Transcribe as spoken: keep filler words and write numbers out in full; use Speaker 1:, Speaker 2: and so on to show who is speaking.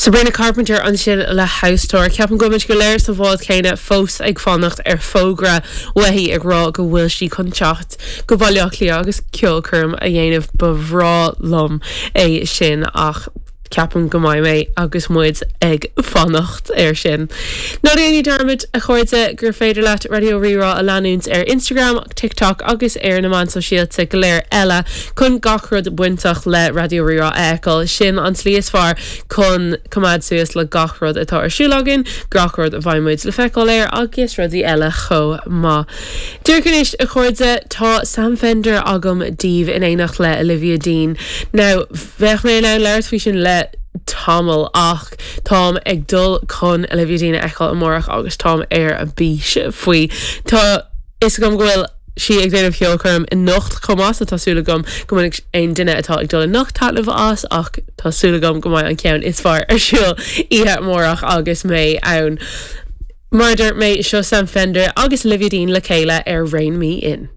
Speaker 1: Sabrina Carpenter ansin le House Tour. Ceapaim go bhfuil muid go léir sa bhád céanna fós ag fanacht ar fógra uaithi ag rá go bhfuil sí chun teacht go Baile Átha Cliath agus ceolchoirm a dhéanamh ba bhreá liom é sin ach ceapaim go mbeidh mé agus muid ag fanacht air sin. Ná déan dearmad a chairde gur féidir leat Raidió Rí-Rá a leanúint ar Instagram, TikTok agus ar na meáin sóisialta go léir eile chun gach rud bainteach le Raidió Rí-Rá a fheiceáil sin an tslí is fearr chun coimeád suas le gach rud atá ar siúl againn, gach rud a bheidh muid le feiceáil air agus rudaí eile chomh maith. Dúircanis a chairde tá Sam Fender agam daoibh in éineacht le Olivia Dean. Now bheadh mé in ann labhairt faoi sin le tamall ach táim ag dul chun Olivia Dean a fheiceáil amárach agus táim ar a bís faoi. Tá is agam go bhfuil sí ag déanamh ceolchoirm anocht chomh maith tá súil agam go mbeidh aon duine atá ag dul anocht taitneamh as ach tá súil agam go mbeidh an ceann is fearr ar siúl oíche amárach agus mé ann. Mar mé seo Sam Fender agus Olivia Dean le chéile ar Rein Me In.